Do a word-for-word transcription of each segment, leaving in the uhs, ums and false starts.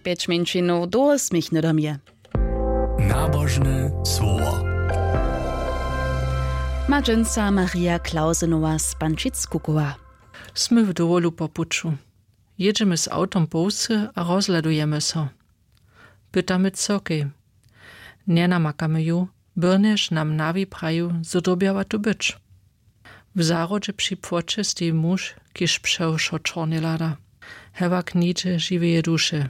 Pjeć mjeńšinow dołho směch hnydom je. Nabožne słowo. Ma dźensa Maria Klausenowa z Pančic-Kukowa. Smy w dowolu po puću. Jědźemy z awtom po wsy a rozhladujemy so. Pytamy cyrkej. Njenamakamy ju, byrnjež nam nawi praju, zo dyrbjała tu być. W zahrodźe při płoće steji muž, kiž přewšo čornje hlada. Hewak nihdźe žiweje duše.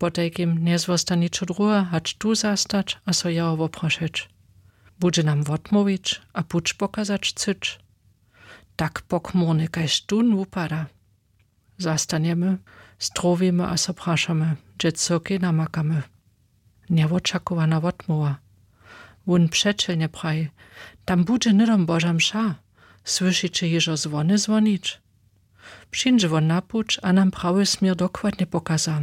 Potajkim njezwosta ničo druhe hač tu zastać a so jeho woprašeć. Budźe nam wotmołwić a puć pokazać chcyć. Tak pokmórny kaž tón wupada. Zastanjemy, strowimy a so prašamy, hdźe cyrkej namakamy. Njewočakowana wotmołwa. Wón přećelnje praji: Tam budźe hnydom Boža mša. Słyšiće hižo zwony zwonić? Přińdźe wón na puć a nam prawy směr dokładnje pokaza.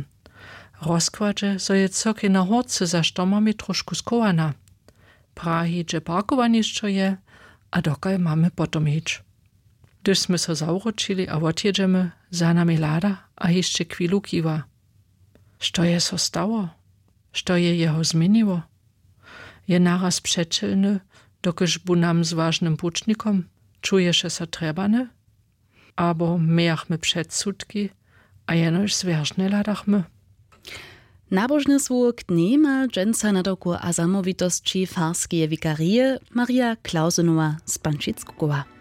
Rozkładźe, zo je cyrkej na hórce za štomami trošku schowana. Prahi, hdźe parkowanišćo je a dokal mamy potom hić. Hdyž smy so zawróćili a wotjědźemy, za nami hlada a hišće chwilu kiwa. Što je so stało? Što je jeho změniło? Je naraz přećelny, dokelž bu nam z wažnym pućnikom? Čuješe so trjebany? Abo mějachmy předsudki a jenož zwjeržnje hladachmy? Nabožne słowo k dnjej ma dźensa nadawku a zamołwitosći farskeje wikarije Maria Klausenowa z Pančic-Kukowa.